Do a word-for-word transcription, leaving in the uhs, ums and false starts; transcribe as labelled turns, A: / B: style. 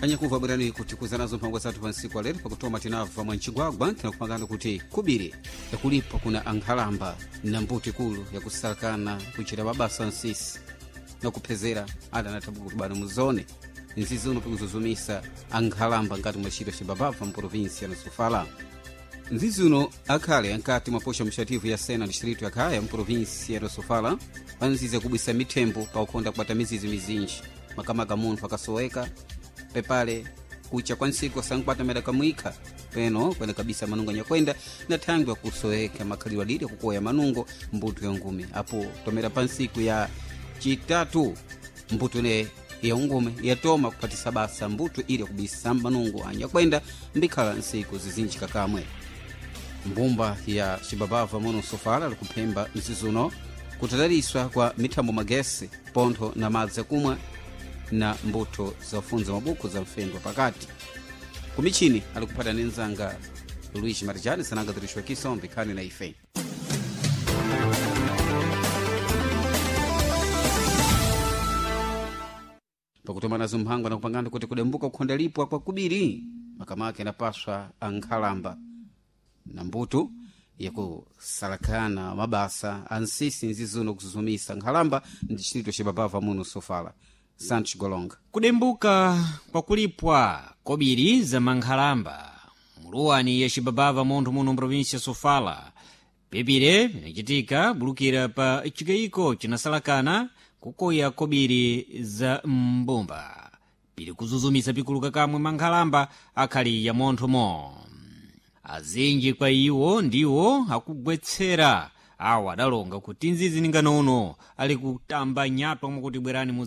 A: Anyakuva, bwerani kuti kuza nazo mphango zathu pa ntsiku alero. Pakutoma tinabva mwa mcigwagwa, tinakupangani kuti kubiri yakulipo kuna ankhalamba na mbuto ikulu yakusalakana kuchita mabasa nsisi na kuphezera ada anathabuka kuti bano muzone nzizi uno pikuzuzumisa ankhalamba ngati mwa chito cibabava mprovinsia na Sofala. Nzizi uno akhale ankati mwaposha mxativu ya Sena distrito ya Khaya mprovinsia ya Sofala, panzizi yakubwisa mithembo paukhonda kubata mizizi mizinji, makamaka munthu akasoweka pepale kucha kwa ntsiku asankwata mera kamwikha peno kwene kabisa manungo anyakwenda na thangwi akusoweka makhalidwe alili akukoya manungo mbuto ya ngumi. Apo tomera pa ntsiku ya chitatu mbuto ine ya ungume yatoma kuphatisa basa mbuto ili yakubisa manungo anyakwenda mbikhala ntsiku zizinji kakamwe. Mbumba ya cibabava muno Sofala likuphemba mzizuno kutadaliswa kwa mithambo magesi pontho na madzi akumwa na mbuto zafunza mabuku za mfendo pakati. Kumichini alikuphata ni nzanga Luiz Marijani sananga tirixwa kisombe khani na ife. Pakutoma nazo mphango anakupangani kuti kudembuka kukhonda lipwa kwa kubiri makamaka inapaswa ankhalamba na mbuto yakusalakana mabasa ansisi nzizuno kuzuzumisa nkhalamba ndi chitito cibabava muno Sofala. Santos Golonga.
B: Kudembuka kwakulipwa kobiri za mankhalamba muluwani ya cibabava munthu muno mprovinsia Sofala pepire pinacitika bulukira pa cikayiko cinasalakana kukoya kobiri za mbumba pili kuzuzumisa pikuluka kamwe mankhalamba akhali ya monthomo. Azinji kwa iwo ndiwo akugwetsera awo adalonga kuti nzizi ninganono ali kutamba nyatwa mwakuti bwerani mu.